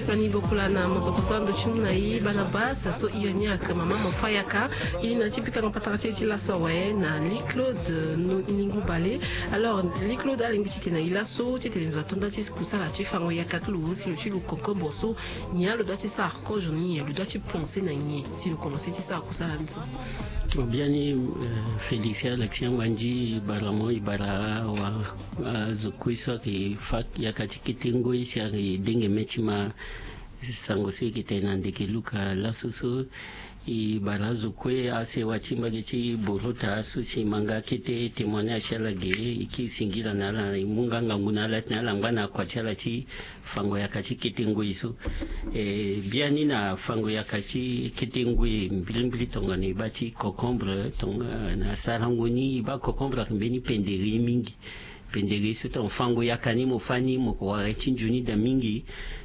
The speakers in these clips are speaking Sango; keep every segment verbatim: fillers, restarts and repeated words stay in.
Fani bokula na mozoko so ando ti mu na i Barnabas so iri ni ayeke mama Mafayaka. I na ti pika nga patara ti e ti laso awe na Lee Claude Ningu Bale. Alors Lee Claude, alingbi titene i laso titene zo ato nda ti kusala ti fango yaka ti lo si lo ti lo concombre so, nyen lo doit ti sara kozo ni, nyen lo doit ti penser na nyen si lo commencer ti sara kusala ni so? Bon, biani, euh, Félix, ala ti yanga ndi bara mo i bara wa, ah, zo kue so ayeke fa yaka ti kete ngoi si ayeke denge me ti ma sango so i yeke tene na ndeke Luka laso so. I bara zo kue asewa ti mbage ti Borota so si ma nga kete témoignage ti ala ge, i kiri singila na ala, i mu nga ngangu na ala titene ala ngba na akua ti ala ti fango yaka ti kete ngoi so. E, biani na fango yaka ti kete ngoi mbilimbili tongana i baa ti concombre, tongana sarango ni i baa concombre ayeke mbeni pendere mingi. Pendere so tongana fango yaka ni mo fâ ni mo ko wara ti nzoni daa mingi.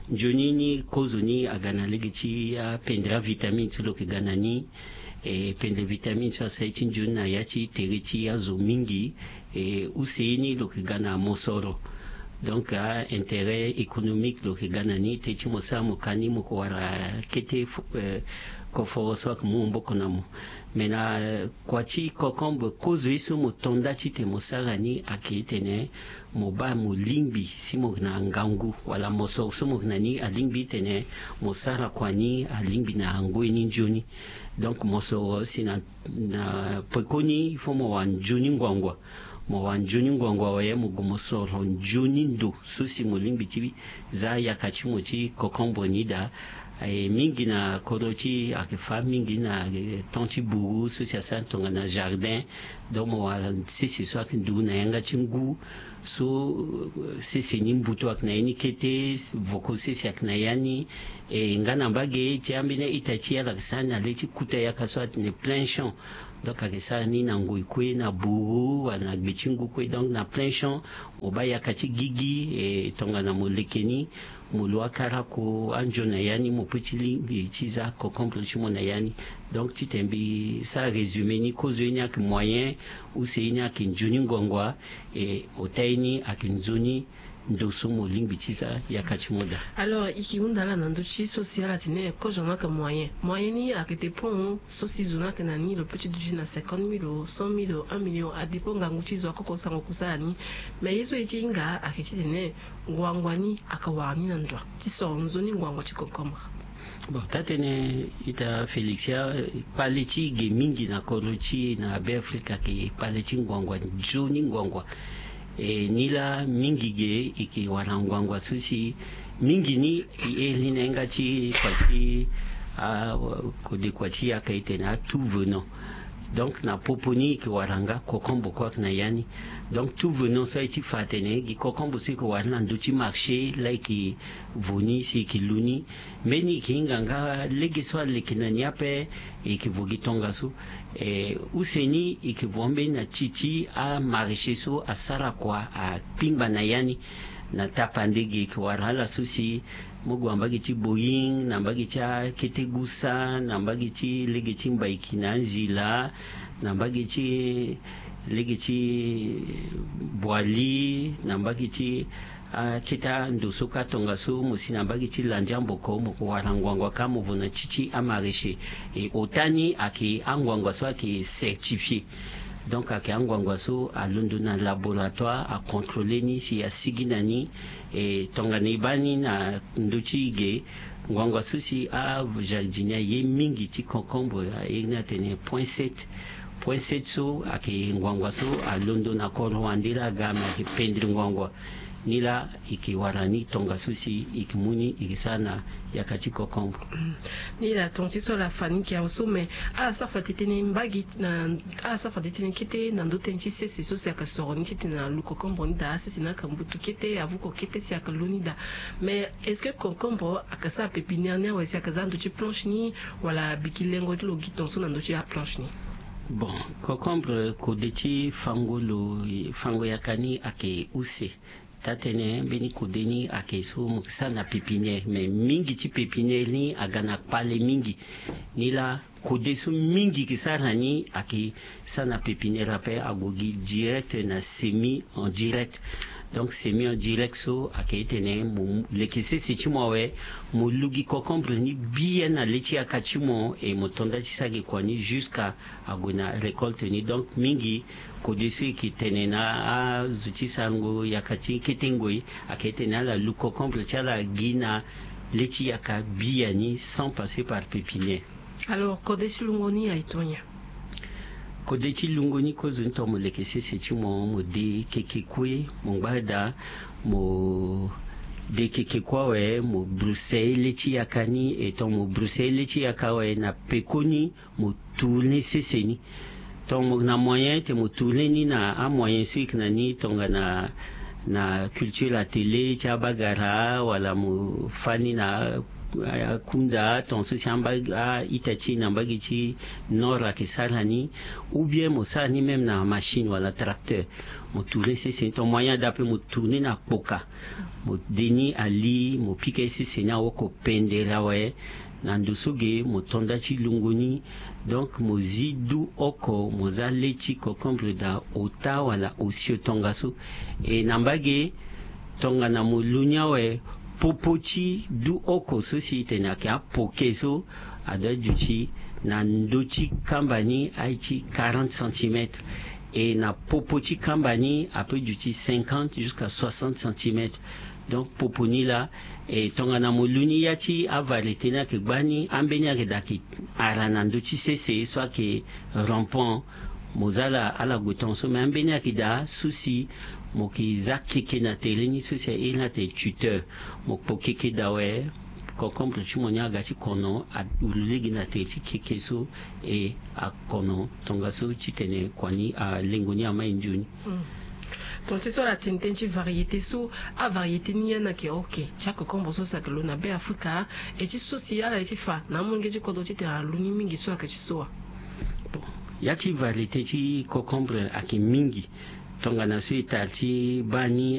Nzoni ni kozo ni aga na lege ti apendere avitamine so lo yeke ga na ni. E, pendere vitamine so asara ye ti nzoni na ya ti tere ti azo mingi. E, use ye ni lo yeke ga na mosoro. Donc a intérêt économique lo yeke ga na ni te ti mo sara mo ka ni mo ko wara kete fo-, eh, koforo so ayeke mu maboko na mo. Me na, eh, kua ti concombre kozo ye so mo to nda titene mo sara ni ayeke titene mo baa mo lingbi si mo yeke na ngangu wala mosoro so mo yeke na ni alingbi titene mo sara kua ni alingbi na ngoi ni nzoni. Donc mosoro si na, na pekoni il faut mo wara nzoni ngbangua. Mo wara nzoni ngbangua awe mo gue mo soro nzoni ndo so si mo lingbi ti za yaka ti mo ti concombre ni daa. E, mingi na kodro ti e ayeke fâ mingi na, e, temps ti buru so si asara tongana jardin. Donc mo wara sese so ayeke ndu na yanga ti ngu so, e, sese ni mbutu ayeke na ya ni kete, voko sese ayeke na ya ni. E, nga na mbage ti ambeni a-ita ti e ala yeke sara ni na le ti kuta yaka so atene plein champ. Donc ayeke sara ni na ngoi kue na buru wala na gbe ti ngu kue. Donc na plein champ mo baa yaka ti gigi, e, tongana mo leke ni mo lo akarako anzoni na ya ni mo peut ti lingbi ti za concombre ti mo na ya ni. Donc titene mbi sara résumé ni, kozo ye ni ayeke moyen, use ye ni ayeke nzoni ngbangua, e, ota ye ni ayeke nzoni ndo so mo lingbi ti za yaka ti mo daa. Alors i ke hunda ala na ndö ti so si ala tene kozo ni ayeke moyen. Moyen ni ayeke dépend so si zo ni ayeke na ni, lo peut ti duti na cinquante mille, cent mille, un million, adépend ngangu ti zo akoko sango kusala ni. Mais ye so e ti hinga ayeke titene ngbangua ni ayeke wara ni na ndo ti soro nzoni ngbangua ti concombre. Bon, taa-tënë ita Félix, ya kpale ti ge mingi na kodro ti e na Beafrika ayeke kpale ti ngbangua, nzoni ngbangua. E, nilaa mingi ge e yeke wara ngbangua so si mingi ni e iri ni na yanga ti kua ti, a, kode kua ti yaka e tene a tout venant. Donc na popo ni e yeke wara nga concombre kue ayeke na ya ni. Donc tout venant so aye ti fa atene gi concombre so e yeke wara ni na ndö ti marché laa e yeke vo ni si e yeke lu ni. Mbeni e yeke hinga nga lege so aleke na ni ape, e yeke vo gi tongaso. E, use ni e yeke vo ambeni na ti ti amaraîcher so asara kua akpingba na ya ni. Na tapande ge e yeke wara ala so si mo gue na mbage ti Boeing, na mbage ti akete gusa, na mbage ti lege ti Mbaiki na Nzila, na mbage ti lege ti Boali, na mbage ti akete ando so kâ tongaso mo si na mbage ti Landiamboko mo ko wara ngbangua kâ mo vo na ti ti amaraîcher. E ota ni ayeke angbangua so ayeke certifié. Donc ayeke angbangua so alondo na laboratoire acontrôler ni si asigi na ni. E tongana e baa ni na ndö ti ge, ngbangua so si ajardinier aye mingi ti concombre aye ni atene point sept. Point sept so ayeke ngbangua so alondo na kodro wande laa aga me ayeke pendere ngbangua. Nilaa e yeke wara ni tongaso si e yeke mu ni e yeke sara na yaka ti concombre. Nilaa tonga ti so ala fa ni yeke awe so, me ala sara fade tënë mbage na, ala sara fade tënë kete na ndö tënë ti sese so si ayeke soro ni titene alu concombre ni daa. Sese ni ayeke mbutu kete, avuko kete si ayeke lu ni daa. Mais est-ce que concombre ayeke sara pépinière ni awe si ayeke za ndö ti planche ni, wala biki lengo ti lo gi tongaso na ndö ti aplanche ni? Bon, concombre kode ti fango lo, fango yaka ni ayeke use. Taa-tënë mbeni kode ni ayeke so mo yeke sara na pépinière, mais mingi ti pépinière ni aga na kpale mingi. Nilaa kode so mingi yeke sara na ni ayeke sara na pépinière ape, ague gi direct na semis en direct. Donc semi en direct so ayeke tene mo leke sese ti mo awe, mo lugi concombre ni bien na le ti yaka ti mo, e mo tonda ti sara gi kua ni jusqu'à ague na récolte ni. Donc mingi kode so e yeke tene na azo ti sarango yaka ti kete ngoi ayeke tene ala lu concombre ti ala gi na le ti yaka biani sans passer par pépinière. Alors kode ti lungo ni aye tongana nyen? Kode ti lungo ni kozoni tongana mo leke sese ti mo, mo de keke kue, mo ngba daa mo de keke kue awe, mo bruse le ti yaka ni. E tongana mo bruse le ti yaka awe, na pekoni mo tourne sese ni. Tongana mo na moyen ti mo tourne ni na amoyen so e yeke na ni, tongana na culture atelier ti abagara, wala mo fa ni na akunda, tongana so si amba a-ita ti e na mbage ti nord ayeke sara ni, ou bien mo sara ni même na machine wala tracteur. Mo tourne sese ni, tongana moyen ada ape mo tourne na kpoka. Mo de ni ali, mo pika ye sese ni aoko pendere awe. Na ndo so ge mo tonda ti lungo ni. Donc mo zi du oko, mo za le ti concombre daa ota wala osio tongaso. E na mbage, tongana mo lu ni awe, popo ti du oko so si e tene ayeke apoke so, adoit duti na ndö ti kamba ni aye ti quarante centimètres. E na popo ti kamba ni apeut duti cinquante jusqu'à soixante centimètres. Donc popo ni laa, e tongana mo lu ni ya ti avariété ni ayeke gbani, ambeni ayeke daa ayeke ara na ndö ti sese so ayeke rampant. Mo za ala ala gue tongaso, me ambeni ayeke daa so si mo yeke za keke na tere ni, so si a iri ni atene tuteur. Mo kpo keke daa awe, concombre ti mo ni aga ti kono, awuru lege na tere ti keke so, e akono tongaso titene kua ni, alengo ni amai nzoni. Tongana ti so ala tene tënë ti variété so, avariété ni ya ni ayeke oke ti acocombre so si ayeke lo na Be Afrika, e ti so si ala ye ti fa na amolenge ti kodro titene ala lu ni mingi so ayeke ti so wa? Bon, ya ti variété ti concombre ayeke mingi. Tongana so e tara ti baa ni,